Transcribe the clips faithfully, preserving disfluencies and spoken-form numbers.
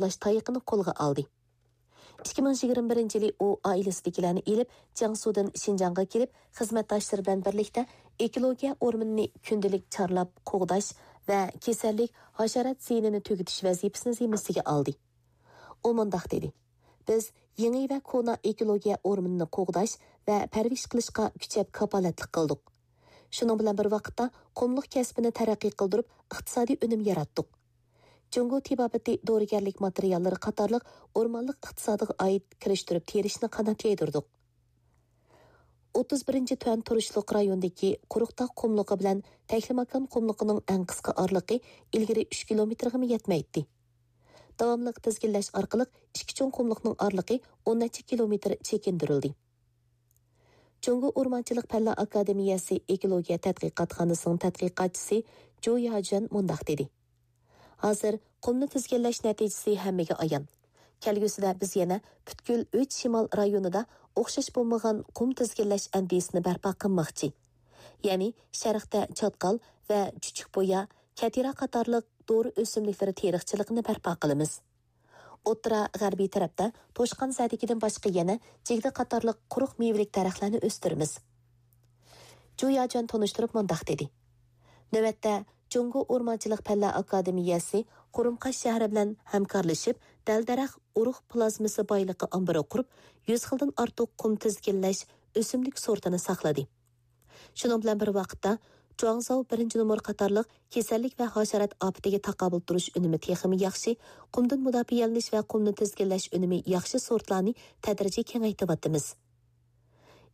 ئۇلاش تايىقىنى قولغا ئالدى. ئىككى مىڭ يىگىرمە بىرىنچى يىلى ئۇ ئائىلىسىدىكىلەرنى ئېلىپ، جياڭسۇدىن شىنجاڭغا كېلىپ، خىزمەتداشلىرى بىلەن بىرلىكتە ئېكولوگىيە ئورمىنىنى كۈندىلىك چارلاپ قوغداش ۋە كېسەللىك، ھاشارات زىيىنىنى تۈگىتىش ۋەزىپىسىنى زىممىسىگە ئالدى. ئۇ مۇنداق دېدى: «بىز يېڭى ۋە كونا ئېكولوگىيە ئورمىنىنى قوغداش ۋە پەرۋىش قىلىشقا كۈچەپ كاپالەتلىك قىلدۇق. شۇنىڭ بىلەن بىر ۋاقىتتا، قۇملۇق كەسپىنى تەرەققىي قىلدۇرۇپ، ئىقتىسادىي ئۈنۈم ياراتتۇق. جۇڭگو تېبابىتى دورىگەرلىك ماتېرىياللىرى قاتارلىق ئورمانلىق ئىقتىسادىغا ئائىت كىرىشتۈرۈپ تېرىشنى قانات يايدۇردۇق.» ئوتتۇز بىرىنچى تۈەن تۇرۇشلۇق رايوندىكى قۇرۇقتاغ قۇملۇقى بىلەن تەكلىماكان قۇملۇقىنىڭ ئەڭ قىسقا ئارىلىقى ئىلگىرى ئۈچ كىلومېتىرغىمۇ يەتمەيتتى. داۋاملىق تىزگىنلەش ئارقىلىق ئىككى چوڭ قۇملۇقنىڭ ئارىلىقى ئون نەچچە كىلومېتىر چېكىندۈرۈلدى. جۇڭگو ئورمانچىلىق پەنلەر ئاكادېمىيەسى ئېكولوگىيە تەتقىقاتخانىسىنىڭ تەتقىقاتچىسى جۇ ياجۈەن مۇنداق دېدى: «ھازىر قۇمنى تىزگىنلەش نەتىجىسى ھەممىگە ئايان. كەلگۈسىدە بىز يەنە پۈتكۈل ئۈچ شىمال رايونىدا ئوخشاش بولمىغان قۇم تىزگىنلەش ئەندىزىسىنى بەرپا قىلماقچى. يەنى شەرقتە چاتقال ۋە چۈچۈكبۇيا، كەتىرا قاتارلىق دورا ئۆسۈملۈكلىرى تېرىقچىلىقىنى بەرپا قىلىمىز. ئوتتۇرا غەربىي تەرەپتە توشقانزەدىكىدىن باشقا يەنە جىگدە قاتارلىق قۇرۇق مېۋىلىك دەرەخلەرنى ئۆستۈرىمىز.» جۇ ياجۈەن تونۇشتۇرۇپ مۇنداق دېدى: «نۆۋەتتە جۇڭگو ئورمانچىلىق پەنلەر ئاكادېمىيەسى قۇرۇمقاش شەھىرى بىلەن ھەمكارلىشىپ، دەل-دەرەخ ئۇرۇق پلازمىسى بايلىقى ئامبىرى قۇرۇپ، يۈز خىلدىن ئارتۇق قۇم تىزگىنلەش ئۆسۈملۈك سورتىنى ساقلىدى. شۇنىڭ بىلەن بىر ۋاقىتتا، جۇاڭزاۋ بىرىنچى نومۇر قاتارلىق كېسەللىك ۋە ھاشارات ئاپىتىگە تاقابىل تۇرۇش ئۈنۈمى تېخىمۇ ياخشى، قۇمدىن مۇداپىئەلىنىش ۋە قۇمنى تىزگىنلەش ئۈنۈمى ياخشى سورتلارنى تەدرىجىي كېڭەيتىۋاتىمىز.»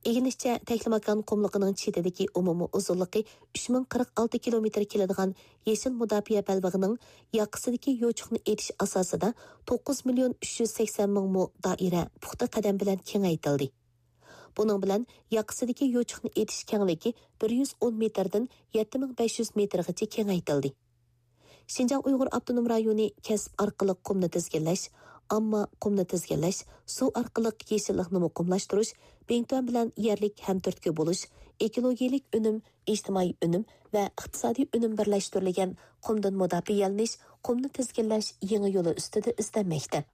ئىگىلىنىشىچە، تەكلىماكان قۇملۇقىنىڭ چېتىدىكى ئومۇمىي ئۇزۇنلۇقى ئۈچ مىڭ قىرىق ئالتە كىلومېتىر كېلىدىغان يېشىل مۇداپىئە بەلبېغىنىڭ ياقىسىدىكى يوچۇقنى ئېتىش ئاساسىدا توققۇز مىليون ئۈچ يۈز سەكسەن مىڭ مو دائىرە پۇختا قەدەم بىلەن كېڭەيتىلدى. بۇنىڭ بىلەن ياقىسىدىكى يوچۇقنى ئېتىش كەڭلىكى بىر يۈز ئون مېتىردىن يەتتە مىڭ بەش يۈز مېتىرغىچە كېڭەيتىلدى. شىنجاڭ ئۇيغۇر ئاپتونوم رايونى كەسىپ ئارقىلىق قۇمنى تىزگىنلەش، ئامما قۇمنى تىزگىنلەش، سۇ ئارقىلىق يېشىللىقنى مۇقىملاشتۇرۇش، بىڭتۈەن بىلەن يەرلىك ھەمتۈرتكە بولۇش، ئېكولوگىيەلىك ئۈنۈم، ئىجتىمائىي ئۈنۈم ۋە ئىقتىسادىي ئۈنۈم بىرلەشتۈرۈلگەن قۇمدىن مۇداپىئەلىنىش، قۇمنى تىزگىنلەش يېڭى يولى ئۈستىدە ئىزدەنمەكتە.